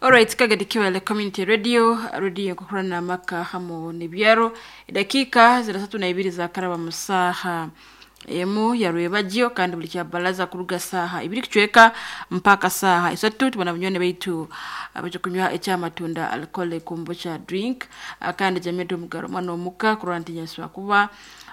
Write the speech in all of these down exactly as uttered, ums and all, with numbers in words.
Alright, kagadi kiwele community radio radio kukurana maka hamu nibyaro dakika zirasatu na ibiri za karaba musaha emu ya rwebagyo kandi buli kya balaza kuruga saha ibiri kuchweka mpaka saha isatu tubona bunyone baitu abaje kunywa ekyamatunda alcohol kombucha drink ah, kandi jamii mugaro mwana omuka kurantinya kuba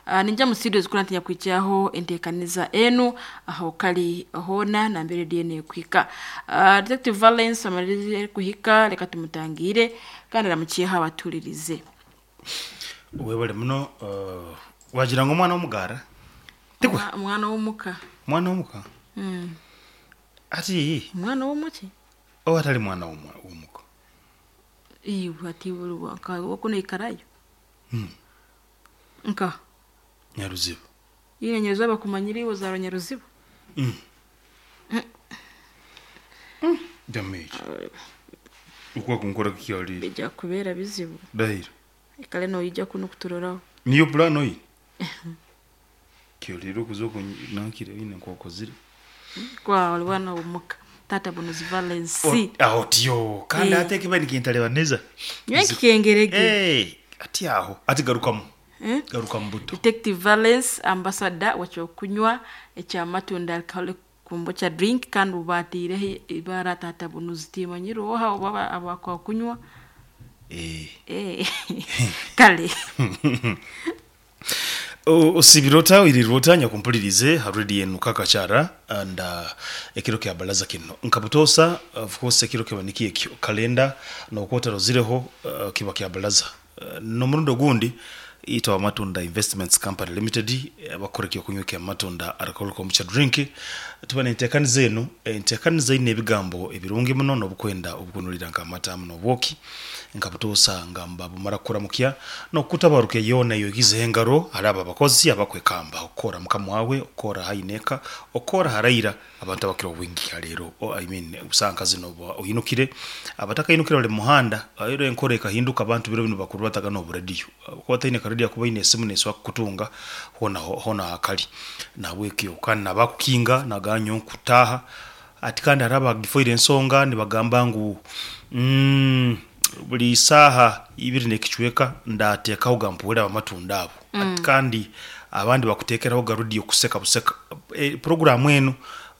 Uh, ninja musidio zikurantinya kwichaho entekaniza enu aho kali hona na mbere D N A kwika uh, Detective Valence amalirize kuhika reka tumutangire kandi aramukiye abatulirize. Webale muno uh, wagira ngo omwana w'omugara tikwe Omwana w'omuka mwana w'omuka mm. ati Omwana w'omuki oba atali mwana w'omuka iwe ati wakuno ikarayo mm. nka Nyaruzibu ile Nyaruzibu bakumanyira iwe zaro Nyaruzibu mm. mm. Damage ukwa kunkora kikyali bijya kubera bizibu dahira ikale no ijya kuno kuturoraho niyo plan oyi kyoliro kuzo nankire ine nkokozire kwa walwana omuka tata bunuzi Valence aho tiyo kandi Eh. ate kiba nikintaleba neza nywe kikengerege Eh, ati aho ati garukamu Eh? garukamu buto Detective Valence ambassador wacyokunywa ekyamatunda alcoholic kombucha drink kandi ubatire ibara tata bunuzi timanyiro oha baba abakwa kunywa eh eh kale osibirota irirota nyakumpulirize harudi yenu kakachara and uh, ekiro kya balaza kino nkabutosa of course ekiro kiba niki ekyo kalenda nokwota rozireho uh, kiba kya balaza uh, nomurundo gundi itwa Matunda Investments Company Limited abakora kyo kunywa kya matunda alcohol kombucha drink tuba nentekaniza eno entekaniza ine ebigambo ebirungi muno nobukwenda obukunulira nka amata muno obwoki nkabutosa ngamba bumara kuramukya nokutabaruke yona yogize engaro araba abakozi abakwekamba okora mukama wawe okora haineka okora haraira abantu abakira obwingi halero o, I mean usanga zino bo- oyinukire abatakainukire bali muhanda ayero enkora ekahinduka abantu biro bino bakuru bataga no radio kuba taine karadio kuba ine esimu neswa kutunga hona hona hakali nabwekyo kandi nabakukinga naganyo kutaha ati kandi haraba gifoire ensonga nibagamba ngu mm, buli saha ibiri nekichweka ndateekaho gampuwera abamatunda abo mm. Ati kandi abandi bakuteekeraho garudiyo kuseka buseka e, programu eno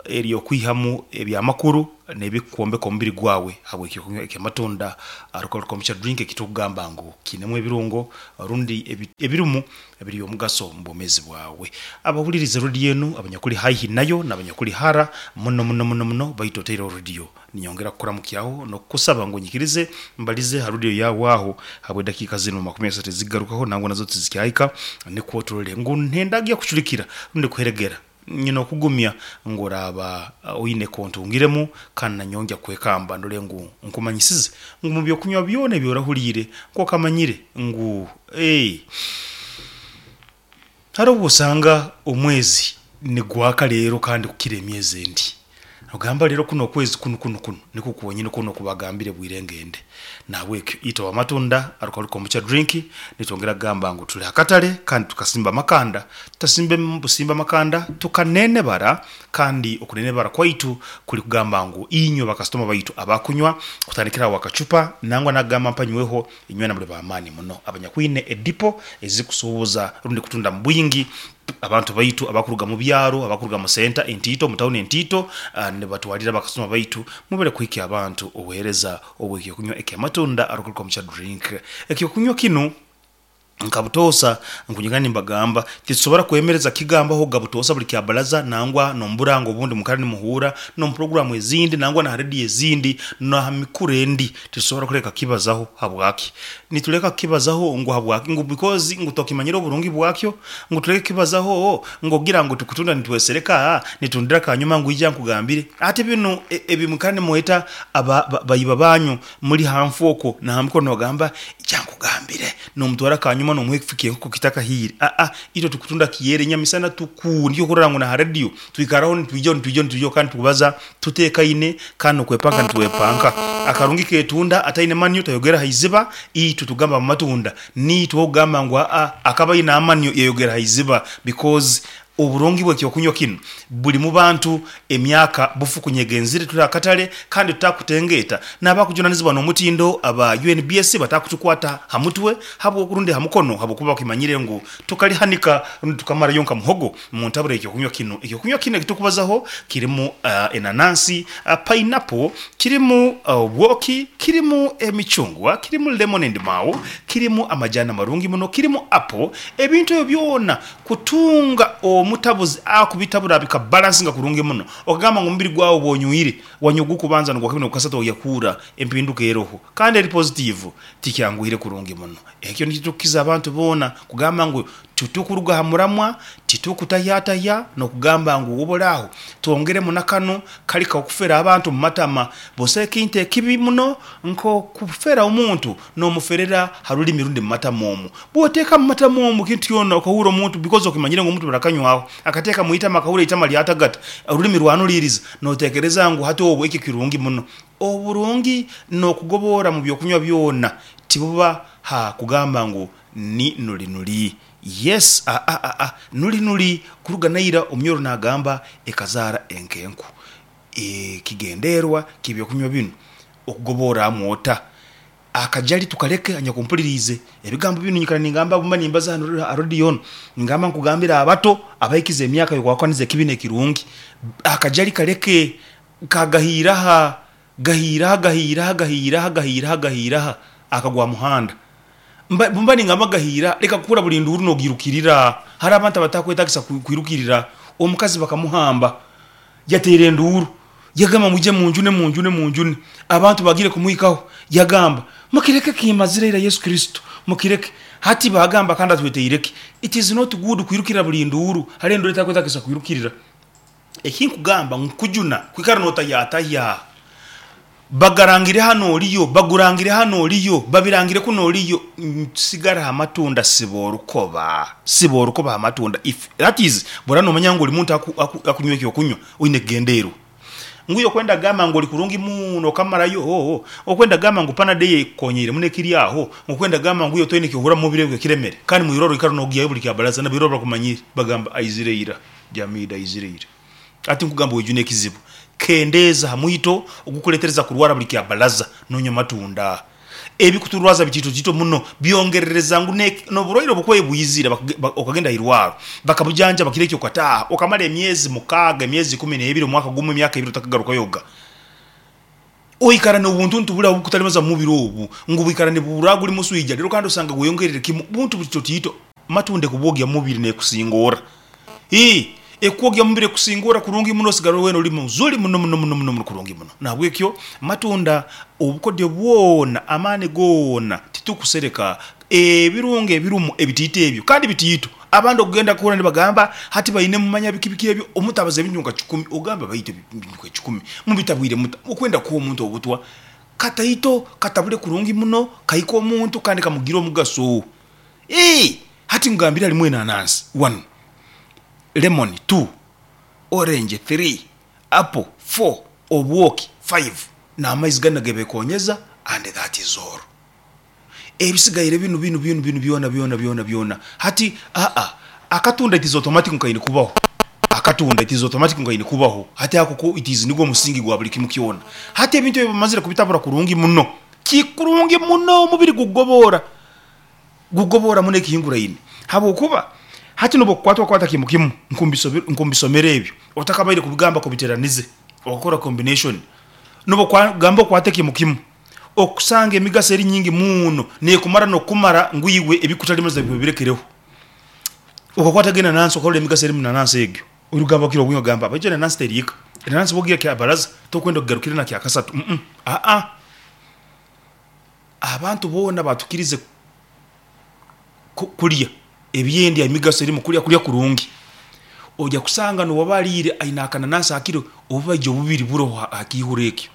eri okwihamu ebyamakuru nebikwombeka omubiri gwawe habwekyo kunywa ekyamatunda alcohol kombucha drink ekitukugamba ngu kinemu ebirungo rundi ebi- ebirimu ebiri omugaso mu bwomezi bwawe. Abahulirize rediyo enu abanyakuli haihi nayo n'abanyakuli hara muno muno muno muno baitu oteireho rediyo ninyongera kukuramukyaho nokukusaba ngu nyikirize mbalize ha rediyo yawe aho habwe dakika zino makumi asatu zigarukaho nangwa nazo tizikyaika nikwo turole ngu ntendagiya kucurikira rundi kuheregera nyina okugumya ngoraba uh, oine kontungiremu kandi nanyongya kwekamba ndole ngu nkumanyisize ngu mu byokunywa byona ebyorahuliire nkokamanyire ngu hey, hari obu osanga omwezi nigwaka leero kandi kukira emyezi endi ogamba leero kuno okwezi kuno kuno kuno nikwo kwonyini kuno kubagambire bwire ngende nabwekyo ita wamatunda alcohol kombucha drink nitwongera kugamba ngu tuli akatale kandi tukasimba makanda tutasimbe busimba makanda tukanenebara kandi okunenebara kwaitu kuli kugamba ngu inywe bakasitoma baitu abakunywa kutandikira awo akacupa nangwa nagamba mpanyweho inywe namuli bamaani muno abanyakwine edipo ezikusuubuza rundi kutunda mu bwingi abantu baitu abakuruga mu byaro abakuruga mu senta entito mu tawuni entito uh, nibatwalira bakasoma baitu mubere kuhikya abantu obuhereza obwekyokunywa ekyamatunda alcohol kombucha drink. Ekyokunywa kinu nkabutosa nkunyigani mbagamba tisobora kwemereza kigambaho gabutosa buli kyabalaza nangwa nomburango obundi mukara nimuhura no programu ezindi nangwa na radio ezindi na mikure endi tisobora kureka kibazaho habwaki nituleka kibazaho ngo habwaki ngo because ngo tokimanyira oburungi bwakyo ngo tuleke kibazaho ngo gira ngo tukutunda nitwesereka nitundira kanyuma ngo ijya nkugambire ate bino ebimukane mueta aba ba- bayiba banyu muri hamfoko na hamko nogamba ijya nkugambire nomutwara kanyuma nomwefikiye nko kitaka hiri a a ito tukutunda kiyere nyamisana tuku ndiyo kurora ngo na radio twikaraho nitwijo nitwijo nitwijo kandi tukubaza tutekaine kandi okwepanga nitwepanka akarungi ketunda ataine manyo tayogera haiziba itu tugamba mu matunda ni twogamba ngo a a akaba ina amanyo yayogera haiziba because Oburungi bw'ekyokunywa kinu buli mu bantu emyaka bufukunyegenzire tuli akatale kandi tutakutengeeta n'abakujunanizibwa n'omutindo aba U N B S batakutukwata ha mutwe habw'okurundi ha mukono habwokuba bakimanyire ngu tukalihanika rundi tukamarayo nka muhogo mu ntabura ekyokunywa kinu. Ekyokunywa kinu ekitukubazaho kirimu uh, enanansi, uh, pineapple, kirimu obwoki, uh, kirimu emicungwa, kirimu lemon and mau, kirimu amajani amarungi muno, kirimu apple. Ebintu ebyo byona kutunga omutabuzi akubitabura bikabalansinga kurungi muno. Okagamba ngu omubiri gwawe bwonywire wanyugu kubanza nogwa kasatu oyakura empinduka eroho kandi eri positive tikyanguhire kurungi muno. Ekyo nikitukiza abantu boona kugamba ngu titukuruga ha muramwa, titukutayataya nokugamba ngu obolaho twongeremu nakano kali kakufera abantu mu matama bose ekintu ekibi muno nko kufera omuntu n'omuferera harulimi rundi mu matama omwo. Bw'oteeka mu matama omwo kintu kyona okahura omuntu because okimanyire ngu omuntu barakanywaho akateeka mu itama akahura itama lyatagata orulimi rwanuliriza notekereza ngu hati obwo ekyo kirungi muno. Oburungi n'okugobora mu byokunywa byona tibuba ha kugamba ngu ni nuli nuli. Yes, a a a a nuli nuli kuruga naira omnyoro nagamba ekazara enkenku. E, kigenderwa kibyokunywa bino okugobora amwota akajali tukaleke anyakumpulirize ebigambo bino nyikara ningamba bumba nimbaza hano arodion ngamba nkugambira abato abayikize emyaka yokwakaniza ekibine ekirungi akajali kaleke kagahiraha gahiraha gahiraha gahiraha gahiraha gahiraha akagwa muhanda mba bumba ningamba gahira leka kukura buli nduru nogirukirira. Hari abantu abatakwetagisa kwirukirira omukazi bakamuhamba yatere nduru yagamba muje munjune munjune munjune abantu bagire kumuikaho yagamba mukireke kimazira ira Yesu Kristo mukireke hati bagamba kandi atweteireke. It is not good kwirukira buli nduru hari nduru etakwetagisa kwirukirira. Ekinkugamba nkujuna kwikara nota yataya bagarangire hano oliyo bagurangire hano oliyo babirangire kuno oliyo sigara amatunda siborukoba siborukoba amatunda. If that is borano manyango oli muntu akunywa ekyo kunywa oyine gendero nguyo kwenda gamba ngo likurungi muno kamarayo oh, oh. Okwenda gamba ngo panade konyire mune kiri aho okwenda gamba nguyo toyine kihura mubire bwe kiremere kandi muiroro ikaro nogiya buli kyabalaza na biroro bakumanyire bagamba aizireira jamida aizireira ati nkugamba ojune kizibu kendeza hamwito ogukuletereza kurwara buli kyabalaza nonya matunda ebikuturwaza bitito tito muno byongerereza ngu noburoiro obukwe buyizira okagenda irwaro bakabujanja bakireke okataha okamala emyezi mukaga emyezi kumi n'ebiri omwaka gumu emyaka ebiri otakagaruka yoga oikara n'obuntu ntubula obukutalimaza mubiri obu ngu bwikara ne buraguli muswija lero kandi osanga gweyongerere kimu buntu bitito tito matunde kubogya mubiri nekusingora eh ekwogya mubiri kusingora kurungi muno sigaro weno oli muzuli muno muno muno muno kurungi muno. Nabwekyo matunda obukodyo bwona amane gona titukusereka ebirunge ebirumu ebitite ebyo kandi bitito abandi okugenda kuhura nibagamba hati bayine mumanya bikibiki ebyo omutabaza ebinyunga kikumi ogamba bayite ebinyunga kikumi mubitabwire muta okwenda kuwa omuntu obutwa kataito katabule kurungi muno kaiko omuntu kandi kamugira omugaso. Eh hati ngambira limwe nanansi one lemon two orange three apple four obwoki five na amaizi gana gebekonyeza and that is all. Ebisigaire binu binu binu binu byona byona byona byona hati a a akatunda it is automatic nkaine kubaho akatunda it is automatic nkaine kubaho hati akoko it is nigwo musingi gwa buli kimu kyona hati ebintu ebimazire kubitabura kurungi muno kikurungi muno omubiri gugobora gugobora muno ekihingura ine habwokuba hati nobo kwatwa kwata kimu kimu nkumbisomere ebyo otakabaire kubigamba kubiteranize okora combination nobo kwagamba kwate kimu kimu okusanga emigaso eri nyingi muno nekumara nokumara nguiwe ebikutalimaza bibirekereho okakwata gena nansi okola emigaso eri munanansi egyo orugamba kiro bwinyo gamba baje nansi terika nansi bogira kya baraza tokwenda kugarukira na kya kasatu mm -mm. A a abantu bona batukirize kulya ebyendi emigaso eri mukulya kulya kurungi ojja kusanga no wabalire aina akananasi akiro obubaje obubiri buro akihura ekyo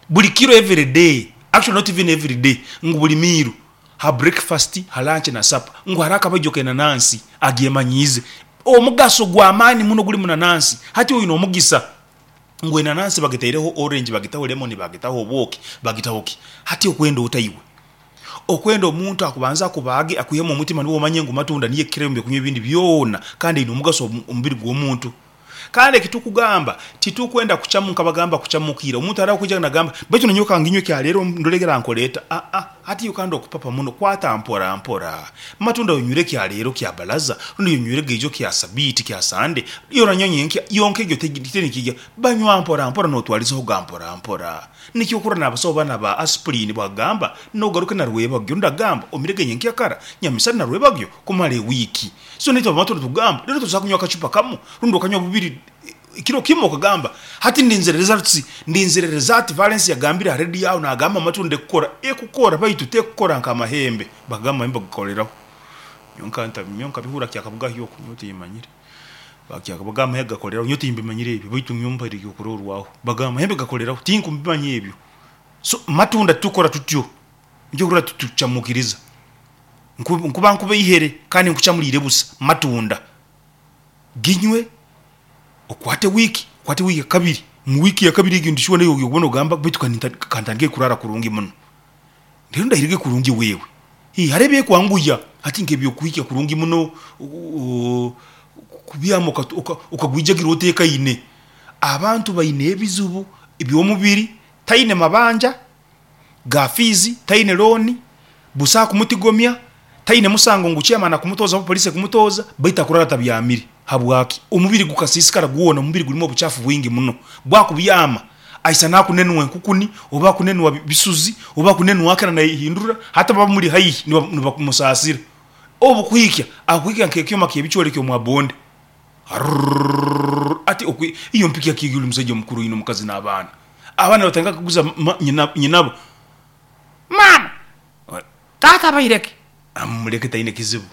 buli kiro every day, actually not even every day, ngu buli miru ha breakfast ha lunch na supper ngu haraka bajoke nanansi agyemanyize omugaso gwa amani muno guli munanansi hati oyino omugisa ngu enanansi bagiteireho orange bagitaho lemon bagitaho obwoki bagitaho ki hati okwenda otayiwe Okwenda omuntu akubanza akubaage akwihemu omutima niwe omanye ngu matunda niyo ekukirayo omu byokunywa ebindi byona kandi eine omugaso omu mubiri gw'omuntu. Kandi eki tukugamba titukwenda kucamu nkabagamba kucamukira omuntu araho kwija nagamba baitu nanyowe kanginywe kyaleero ndole rankoleeta. Aa, hati kandi okupapa muno kwata mpora mpora. Matunda yonywire kyaleero kya balaza, rundi yonywire geijo kya sabiiti kya sande, yoranywa nyenkya yonka egyo tenikijya. Banywa mpora mpora notwalizaho ga mpora mpora. Nikyo okurora n'abasaho bana ba aspirin bwagamba nogaruke na rwebagyo, ndagamba omirege nyenkya kara nyamisana na rwebagyo kumara ewiiki. So naitwe abamatunda tugamba rero tuza kunywa akacupa kamu rundi okanywa bubiri kiro kimu okagamba hati ndinzire results, ndinzire result. Valence yagambire ha radio aho nagamba amatunda ekukora ekukora baitu tekukora nk'amahembe. Bagamba amahembe gakoleraho nyonka nta nyonka bihura kyakabuga hyo nyowe timmanyire bakyakabuga amahembe gakoleraho nyowe timbimanyire ebyo baitu nyompa eryokurorwaho bagamba amahembe gakoleraho tinkumbimanya ebyo. So matunda tukora tutyo nikyo kurora tutucamukiriza nkuba nkuba ihere kandi nkucamulire busa. Matunda ginywe okwate wiki, okwate wiki kabiri, mu wiki ya kabiri egyo ndishuwa nayo okubona ogamba baitu kantandike kurara kurungi muno rero ndahirege kurungi wewe. Hii hariho ebyekwanguya hati nk'ebyokuhikya kurungi muno kubyama okagwijagira otekaine. Abantu baine ebizibu eby'omubiri, taine mabanja ga fiizi, taine looni, busa kumutigomya, taine musango ngu chairman akumutoza, polisi ekumutoza, baitu akurara tabyamire. Habwaki? Omubiri gukasiisikara gwona, omubiri gurimu obuchafu bwingi muno. Bwakubyama aisa nakunenwa enkukuni oba kunenwa bisuzi oba kunenwa akira naihindura hata baba muri haihi nibakumusasira. Obu kuhikya akuhikya nk'ekyoma ky'ebichwere ky'omwabonde ati iyo mpikya kigulu omusajja mukuru ino omukazi n'abaana abaana batandika kuguza nyinabo mama tata baireke amuleke taine kizibu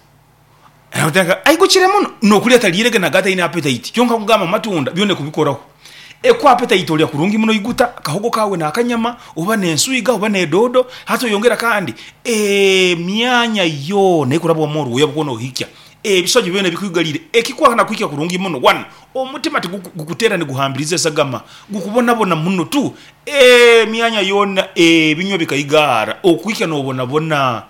aigukire muno nokulya talirege naga taine appetite. Kyonka kugamba matunda byone kubikoraho ekwa appetite olya kurungi muno iguta kahogo kawe n'akanyama oba n'enswiga oba n'edodo hati oyongera kandi emyanya yoona ekurabwamu oruoya bwona ohikya ebisojo byona bikwigalire ekikwana kuhikya kurungi muno. One, omutima tigukutera niguhambiriza esagama gukubonabona muno tu emyanya yoona ebinywa bikaigara okuhikya nobonabona.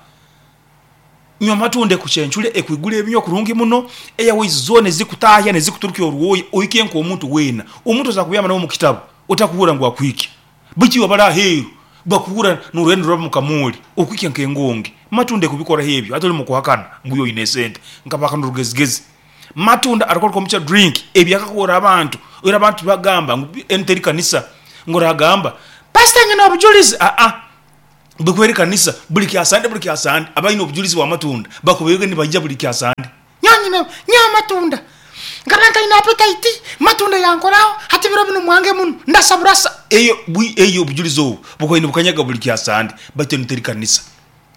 Nywa matunda ekucencure ekwigura ebinywa kurungi muno airways zona ezikutahya nezikuturukya oruoya ohike nk'omuntu weena. Omuntu oza kubyama nawe omu kitabu otakuhurra ngu akuhikya baitu iwe abari aheeru bakuhurra norwenda ruraba mukamori okuhikya nk'engonge. Matunda ekubikoraho ebyo hati oli mukuhakana ngu iwe oine esente nkabaka n'orugezigezi. Matunda arikora omucha drink ebyakakora abantu era abantu bagamba ngu enu teri kanisa ngu oragamba pastor nyine obujulizi. Aa, bwekuba eri kanisa buli kyasande buli kyasande abaine obujulizi bwa matunda bakubaire nibaija buli kyasande nyanyine nyowe matunda nkaba ntaine appetite matunda yankoraho hati biro binu mwange muno ndasaburasa eyo eyo obujulizi obu bukubaire nibukanyaga buli kyasande baitu enu teri kanisa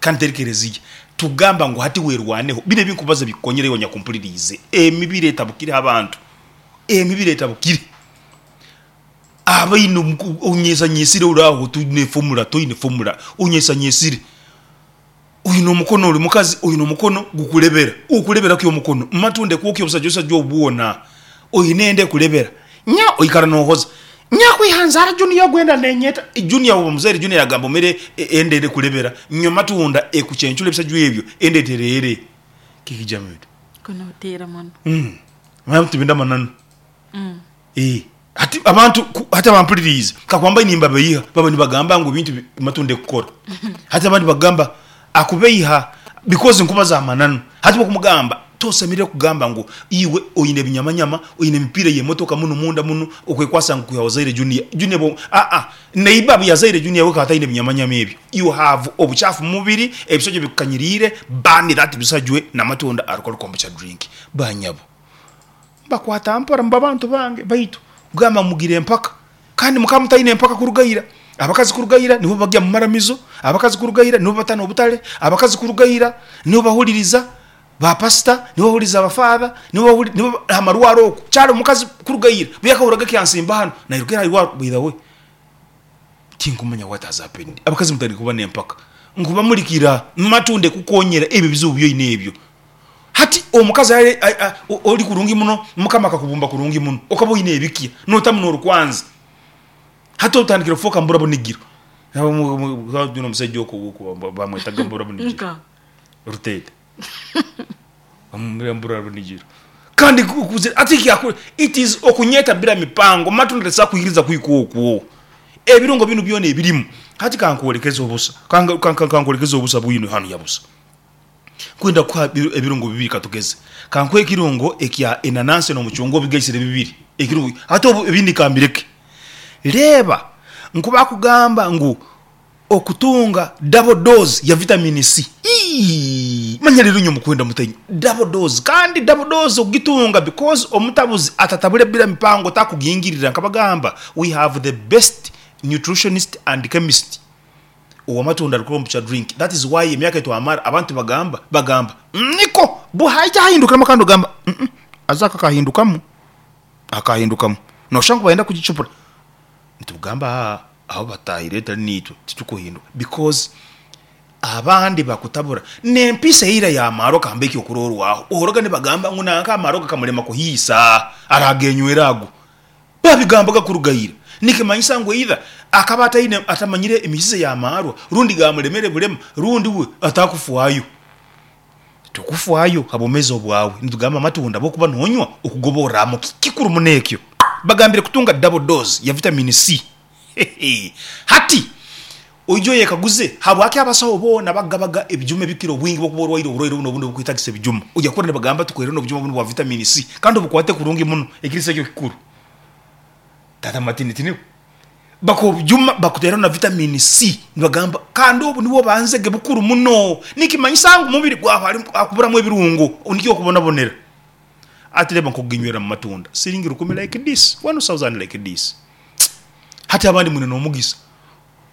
kandi teri kereziya. Tugamba ngu hati werwaneho bino ebinkubaza bikukonyera iwe nyakumpuliriize. Emibiri etabukire abantu, emibiri etabukire abaine onyesanyesire oraho toine formula, toine formula onyesanyesire oine omukono oli mukazi oine omukono gukulebera okulebera ki omukono matunda ekwokya obusajja osajja obwona oine enda ekulebera nya oikara nohoza nyakwihanzara junior gwenda nenyeta junior oba muzaire junior yagamba omere enda ekulebera nywa matunda ekucencura ebisajwa ebyo enda eterere kikijamito kunotera muno. Mm tibinda mananu. Mm. Eh, hati abantu hati abampuliriize kakwamba nimbabeiha baba nibagamba ngu bintu matunda ekukora hati abandi bagamba akubeiha because nkubaza amananu. Hati bakumugamba tosemerere kugamba ngu iwe oine ebinyamanyama oine emipiira y'emotoka muno munda muno okwekwasa ngu kuyawazaire junior junior bo a a neiba yazaire junior we kataine ebinyamanyama ebyo. You have obuchafu mu mubiri ebisojo bikukanyiriire bani that bisajwe n'amatunda alcohol kombucha drink banyabo bakwata mpora mu bantu bange baitu kugamba mugire empaka kandi mukaba mutaine empaka kurugaira abakazi kurugaira nibo bagya mu maramizo abakazi kurugaira nibo batana obutale abakazi kurugaira nibo bahuliriza ba pastor nibo bahuliriza abafather nibo nibo amarwaro oku kyali omukazi kurugaira byakahuraga kyansimba hano nairugera irwaro. By the way, tinkumanya what has happened. Abakazi mutari kuba n'empaka nkubamulikira matunde kukonyera ebyo bizibu byoine ebyo. Hati omukazi oli kurungi muno mukama akakubumba kurungi muno okaba oine ebikya notamu n'orukwanza hati otandikire kufoka mburabo nigiro Omusajja okwo bamwetaga mbura bunigiro. Nka Rutete mbura bunigiro kandi kuze ati kyakure it is okunyeta bila mipango matunda tesakuhiriza kwiko okwo ebirungo binu byona ebirimu. Hati kankuolekeza obusa kankuolekeza obusa bwino hanu yabusa kwenda kuha ebirungo bibiri katugeze kankuhe ekirungo ekya enanansi n'omucungwa obigaisire bibiri ekirungo hati ebindi kambireke. Reba nkuba kugamba ngu okutunga double dose ya vitamin C. Iiii, manya rero nyo mukwenda mutenyo double dose kandi double dose ogitunga because omutabuzi atatabule bila mipango takugingirira nkabagamba we have the best nutritionist and chemist owamatunda alikuwa drink. That is why emyaka etwamara abantu bagamba bagamba niko buhaija hahindukiramu kandi ogamba mm -mm, azaka kahindukamu akahindukamu noshangu bayenda kugichupura nitugamba aho batahire tali nitwe titukuhinduka because abandi bakutabura nempisa eira ya maro kambeki okurorwaho ohoroga nibagamba ngu nanka amaro kamulema kuhiisa aragenywera ago babigambaga kurugaira nikimanyisa ngu either akaba ataine atamanyire emisize ya marwa rundi gamulemere bulema rundi we atakufuayo tukufuayo habomeza obwawe nitugamba amatunda bokuba nonywa okugoboramo kikuru munekyo bagambire kutunga double dose ya vitamin C. Hati oijo yekaguze habwaki abasaho bona bagabaga ebijuma ebikiro obwingi bokuba orwaire oburwaire buno obundi obukwetagisa ebijuma ojya kubona nibagamba tukwere n'obujuma buno bwa vitamin C kandi obukwate kurungi muno ekirisa ekyo kikuru tata matini tini bakobujuma bakutera na vitamin C nibagamba kandi obu niwo banzege bukuru muno nikimanyisa ngu mubiri gwawe akuburamu ebirungo nikyo okubonabonera ati reba nkoginywera mu matunda siringi rukumi like this one thousand like this. Hati abandi mwine n'omugisa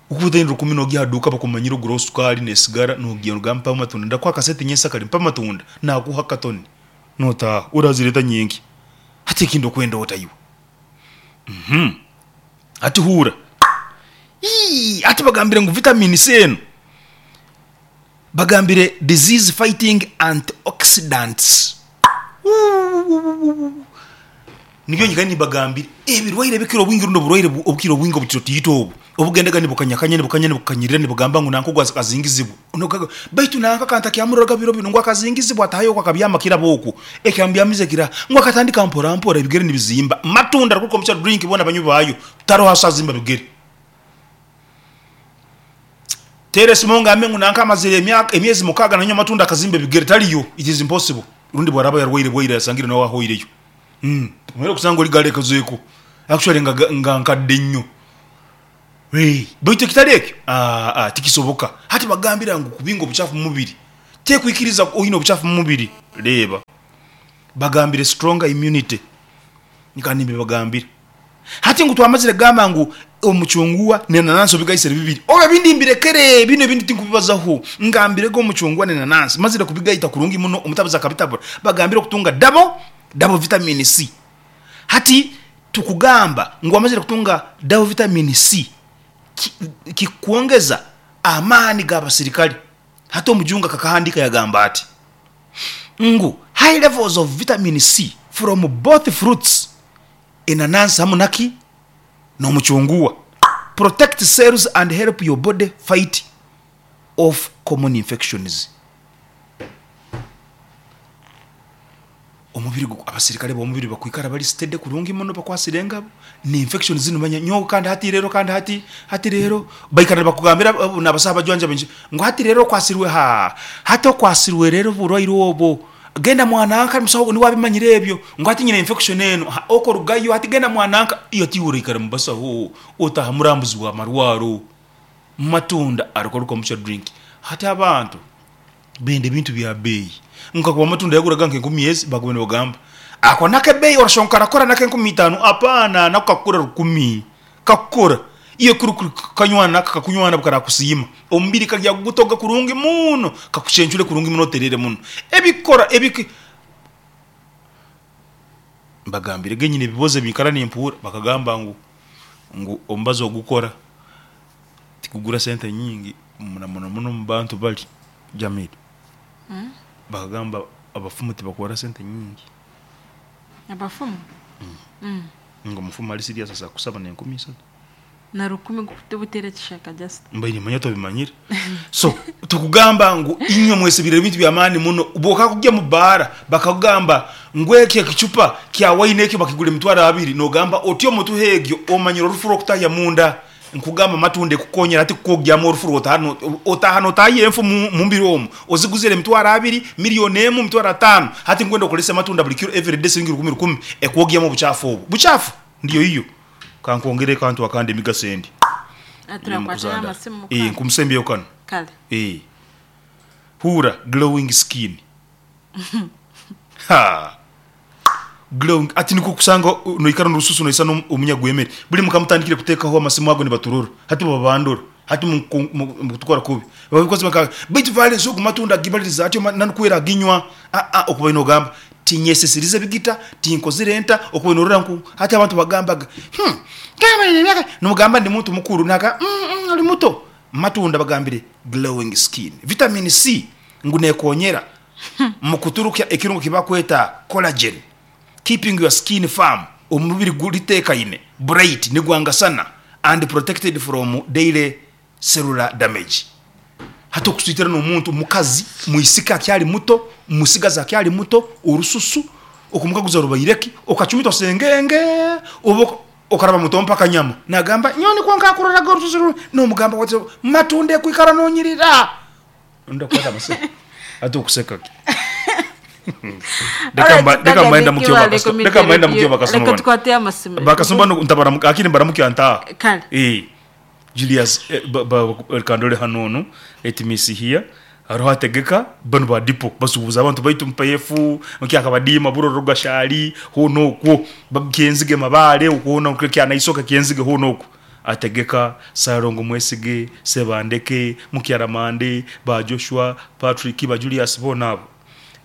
ukubutayini rukumi nogiha duka bakumanyira ogura sukari nesigara nogiya nogamba mpa matunda ndakwa kasete nyesa kali mpa matunda nakuha katoni nota urazireta nyingi hati ekindo kwenda otayiwe mhm ati hura ii ati bagambire ngu vitamin C eno bagambire disease fighting antioxidants nibyo nyikani bagambire ebirwaire bikiro obwingi rundo burwaire obukiro obwingi obutiro tiyito obu obugendaga nibukanyakanya nibukanya nibukanyirira nibugamba ngu nanko gwaza kazingizibwa baitu nanka kanta kyamuraga biro bino ngo akazingizibwa atahayo kwa kabyama kirabo oku ekyambyamize kira ngo akatandika mpora mpora ebigere nibizimba matunda kuko mcha drink bona banyu bayo taro hasazimba bigere tere simonga amengu nanka amazire emyaka emyezi mukaga nanywa matunda akazimba bigere taliyo it is impossible rundi bwaraba yarwaire bwaire yasangire nawe ahoireyo mm mwero kusanga oli gale kazueko actually nga nga nkadde nnyo hey baitu kitali ekyo ah ah tikisoboka hati bagambira ngu kubinga obuchafu mu mubiri tekwikiriza oyina obuchafu mu mubiri leba bagambire stronger immunity nikanimbe bagambire hati ngu twamazire gamba ngu omuchungwa nenanasi obigaisire bibiri oba bindi mbirekere bino ebindi tinkubibazaho ngambire go omuchungwa nenanasi mazire kubigaita kurungi muno omutabuza kabitabura bagambire okutunga double double vitamin C. Hati tukugamba ngu amazire kutunga double vitamin C kikuongeza amani g'abasirikali. Hata omujunga kakahandika yagamba ati ngu high levels of vitamin C from both fruits enanasi hamu naki n'omuchungwa protect cells and help your body fight off common infections. Omubiri abasirikale bomubiri bakwikara bali steady kurungi muno bakwasire engabo ni infection zino manya nyo kandi hati rero kandi hati hati rero baikara bakugambira nabasaba bajwanja benji ngo hati rero kwasirwe ha hati okwasirwe rero burwaire obo genda mwananka musawo ni wabimanyire ebyo ngo hati nyina infection eno oko rugayo hati genda mwananka iyo tiwurikara mubasaho otaha murambuzi wa marwaro matunda ariko mucha drink hati abantu bende bintu bya bei nkakuba matunda yaguraga nke nkumi ezi bagobene bagamba ako nake bei orashonkara kora nake nkumi itano apana nakakura rukumi kakora iyo kuru kanywana kakunywana bukara kusima omubiri kajya gutoga kurungi muno kakushenjule kurungi muno terere muno ebikora ebiki mbagambire genyine biboze bikara n'impura bakagamba ngu ngu ombazo gukora tikugura sente nyingi muno muno muno mu bantu bali Jamil mm? Bakagamba abafumu tibakora sente nyingi abafumu mm. mm. Ngo mufumu ali serious asa kusaba n'enkumi isatu Na rukumi gutera kishaka just. Mbaine manya tobimanyire. So tukugamba ngu inywe mwesibire ebintu by'amaani muno. Bwokakujja mu baara bakagamba ngu ekyo ekicupa kya waini ekyo bakigura emitwaro abiri, nogamba otyo omutuha egyo omanyire orufu rw'okutahya munda. Nkugamba matunda ekukonyera ati kukogyamu orufu rwotahano otahano otahiye enfu mu mu mbiri omwo oziguzire emitwaro abiri, miliyoni emu, emitwaro ataano, hati ngwenda okolesa amatunda buli kiro everyday siringi rukumi rukumi ekwogyamu obuchafu obwo buchafu ndiyo iyo kankwongere kantu akandi emigaso endi. Aturakwatira amasimu. Eh, nkumusembyeyo kano. Kale. Eh, hura glowing skin. Ha, glowing ati niko kusanga uh, noikara n'orususu noisa omunyagwemere buli mukamutandikire kuteekaho amasimu ago nibaturura hati babandura hati mukutukora kubi babikoze baka baitu violence ogu matunda gibaliriza atyo nanukwera aginywa a a okuba inogamba tinyesesirize bigita tinkozire enta okuba inorora nku hati abantu bagambaga hmm kama ine myaka nomugamba ndi muntu mukuru naka mm, mm, oli muto. Matunda bagambire glowing skin, vitamin C ngu nekonyera mukuturukya ekirungo kibakweta collagen, keeping your skin firm, omubiri gulitekaine bright nigwangasana and protected from daily cellular damage. Hati okuswitira n'omuntu mukazi mwisika akyali muto, musigazi akyali muto, orususu okumukaguza rubaireki okachumita osengenge oba okaraba muto mpaka nyama nagamba nyoni kwonka akuraraga orususu ru-" nomugamba wati matunda ekwikara nonyirira ndakwata amase ate okuseka ki. Reka mba- reka mbaenda mukyo bakaso- reka mbaenda mukyo bakasoma Reka bano. tukwate amasimu. Bakasoma no ntabara akini mbaramuki antaa. Kale. Eh, Julius eh, ba, ba, kandole hanono etimisi here hariho ategeka bano ba dipo basubuza abantu baitu mpefu nkyakabadima buroro gashali hono okwo bakenzige mabale okwo kyana isoka kenzige hono okwo ategeka Sarongo Mwesige Sebandeke Mukyaramande ba Joshua Patrick ba Julius bona abo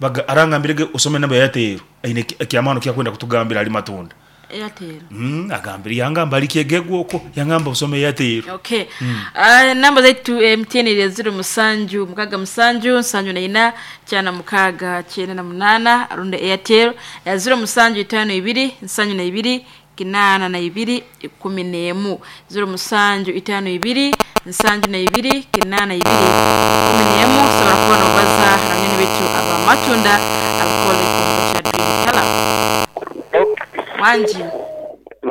baga arangambirege osome namba ya Airtel aine kyamano kyakwenda kutugambira ali matunda. Airtel. Mm, agambira yangamba ali kyegegwa okwo yangamba osome Airtel. Okay. Uh, namba zaitu M T N iri zero musanju mukaga musanju nsanju na ina cyana mukaga cyenda na munana arunde Airtel ya zero musanju itano ibiri nsanju na ibiri kinana na ibiri ikumi n'emu zero musanju itano ibiri nsanju na ibiri kinana ibiri ikumi n'emu. Sobora kubona obaza hamwe bitu aba matunda abakole kumbucha Dream Color. Wanji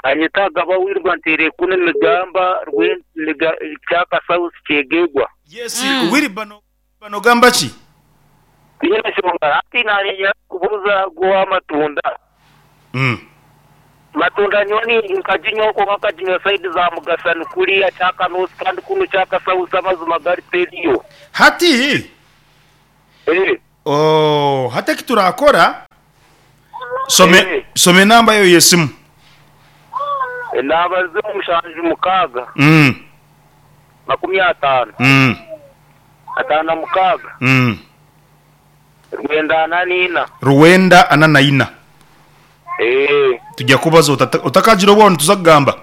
Anyitaga bawirwa ntere kuno migamba rwe cyaka south kyegegwa. Yes, mm. Wiri bano bano gamba ki? Yena shonga ati nari kubuza gwa matunda. Mm. Matunda nyoni nkajinyo ko nkajinyo side za mugasani kuriya cyaka north kandi kuno cyaka south amazuma gari periyo. Hati Eh. Oh, hata kiturakora some Eh. some namba yo yesimu. Naba zero mushanju mukaga. Mm. Makumi atano. Mm. Atano mukaga. Mm. Rwenda ananina. Rwenda ananaina. Eh. Tujya kubaza utakajira obwo tuzagamba.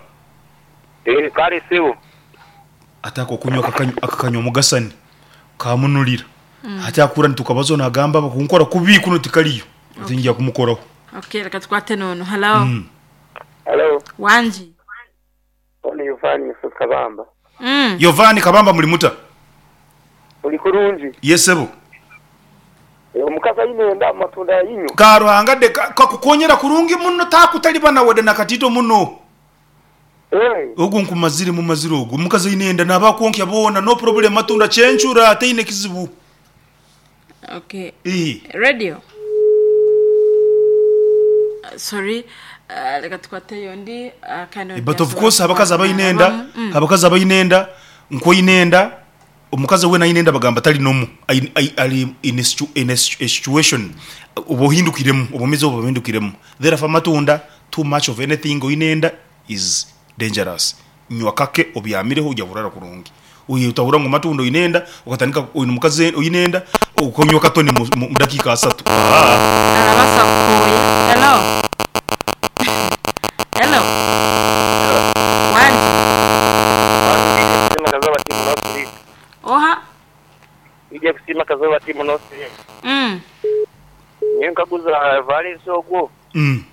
Eh, kare sebo. Atako kunywa akakanywa akakanywa mugasani kamunulira. Mm. Hati akura ntukabazo nagamba bakunkora kubi kuno tikaliyo. Okay. Tingiya kumukoraho. Okay, reka tukwate nono. Hello. Mm. Hello. Wanji. Oni Yovani Yusuf Kabamba. Mm. Yovani Kabamba muri muta. Uli kurungi. Yesebo. Omukazi ayine matunda yinyu. Karuhanga de kakukonyera kurungi muno takutalibana wede nakatito muno. Eh. Ogu nkumazire mu maziro ogu omukazi ayine nabakonkya bona no problem matunda chenchura ataine kizibu. Okay. Eh. Radio. Uh, sorry. Uh, reka tukwate yondi uh, kandi but of course abakazi abayinenda mm. abakazi abayinenda nkoyinenda omukazi we nayinenda bagamba tali nomu ali in a, situ, in a situation obohindukiremu obumizo obohindukiremu therefore matunda too much of anything oyinenda is dangerous nywa kake obyamireho ujya burara kurungi uyi utahura ngo matunda oyinenda ukatandika uyu mukazi oyinenda ukonywa katoni mu dakika asatu. Ah, arabasa koye. Hello. Hello. Wanji. Oha. Ije kusima kazoba timu nosi. Mm. Nyenkaguza valence ogwo. Mm.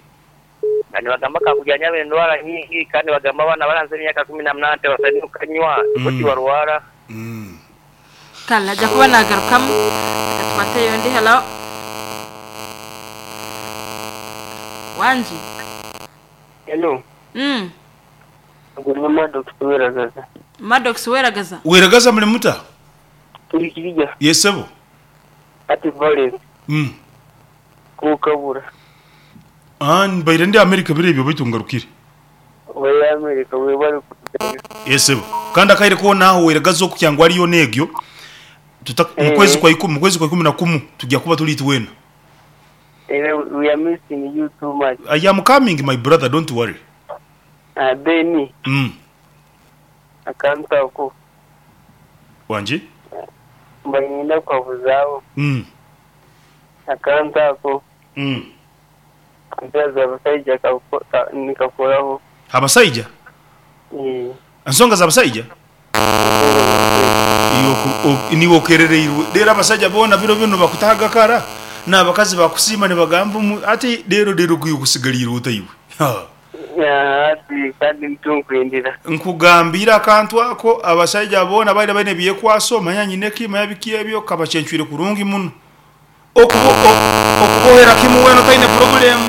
Kandi bagamba kakujyanya endwara nyingi kandi bagamba abana baranze emyaka kumi na munana tebasaine kukanywa Mm. kuti barwara. Mm. Kale ajja kuba nagarukamu reka tufate yondi. Hello, wangi? Hello. Mm. Ubwo ni Maddox Weragaza. Maddox Weragaza. Weragaza muli muta? Turi kirya. Yesebo. Ati Valence. Mm. Kukabura. Ah, mbaire ndi America bire ebyo baitu ngarukire. We America we bari kutega. Yesebo. Kandi akaire ko naho weragaza okukyangwa ariyo negyo. Tuta Eh. mu kwezi kwa ikumi, mu kwezi kwa ikumi na kumu tujya kuba tuli twena. Eh, we are missing you too much. I am coming, my brother, don't worry. Ah, then Mm. akantu ako Wanje? mbanyina kwabuzaho. Mm. Akantu ako Mm. ampeereza abasajja kako- ka- nikakoraho. Abasaija? Eh, Ensonga z'abasaija? Iwe ku- o- niwe okerereirwe. Rero abasajja boona biro bino bakutahaga kara n'abakazi bakusiima nibagamba omu- ati rero rero gwiwe kusigaliire otaiwe. Ha. Ah, ati kandi ntunkwendera. Nkugambira akantu ako abasajja boona baire baine byekwaso manya nyineki manya biki ebyo kabacyencwire kurungi muno. Okubo o- okubohera kimu weno taine problem.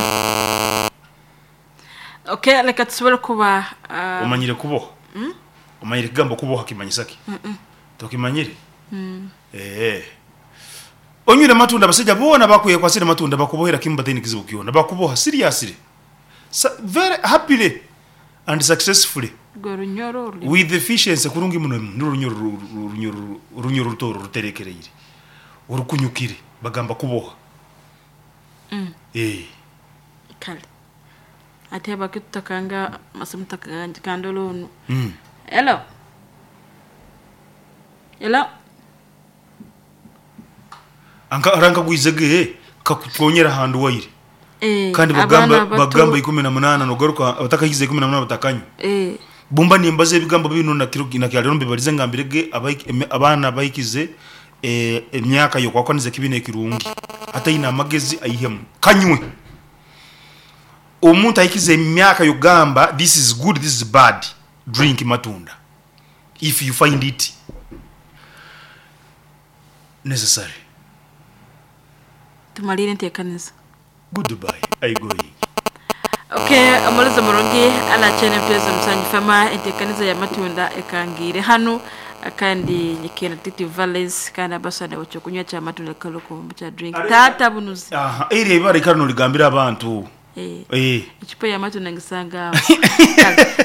Okay, reka tusobole kuba ah, Omanyire kuboha? Omanyire kigambo kuboha kimanyisa ki? Tokimanyire? Eh. Onywire matunda abasajja boona bakwekwasire matunda bakubohera kimu bataine kizibu kyona bakuboha seriously. Sa very happily and successfully rwe runyoro ruri with efficiency kurungi muno n'urunyoro ru- ru- runyoro runyoro rutoro ruterekereire urukunyukire bagamba kuboha. Mm. Eh. Kale ate abake tutakanga masimu takanga kandolo onu. Mm. Hello, hello. Anka aranka gwizege kakukonyera handu waire. Eh, Kandi abaana bagamba bato- bagamba ikumi na munana nogaruka abatakahize ikumi na munana batakanywa. Eh, Bumba nimbaze ebigambo bino na kiro na kyalero mbibarize ngambirege abaiki- eme- abaana bayikize eh, emyaka yokwakaniza kibina ekirungi ataina amagezi aihemu kanywe. Omuntu ayikize emyaka yogamba this is good, this is bad, drink matunda if you find it necessary. Tumalire enteekaniza. Goodbye, I going. Okay, omulizi murungi alakyene mpezo musanyi fama enteekaniza ya matunda ekangire hano kandi nyikena titi valence kandi abasana bakyokunywa kya matunda kaloko kya drink tata bunuzi. Aha, eri ebara ikara noligambira abantu. Eh. Eh. Icupa ya matunda ngisanga.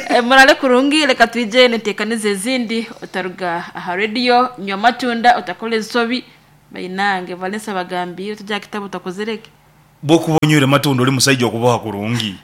Eh, murale kurungi reka twije nenteekaniza ezindi otaruga aha radio nywa matunda otakola ensobi bainange Valence abagambire tujya kitabu utakozereke. Bwokuba onywire matunda oli musajja okuboha kurungi.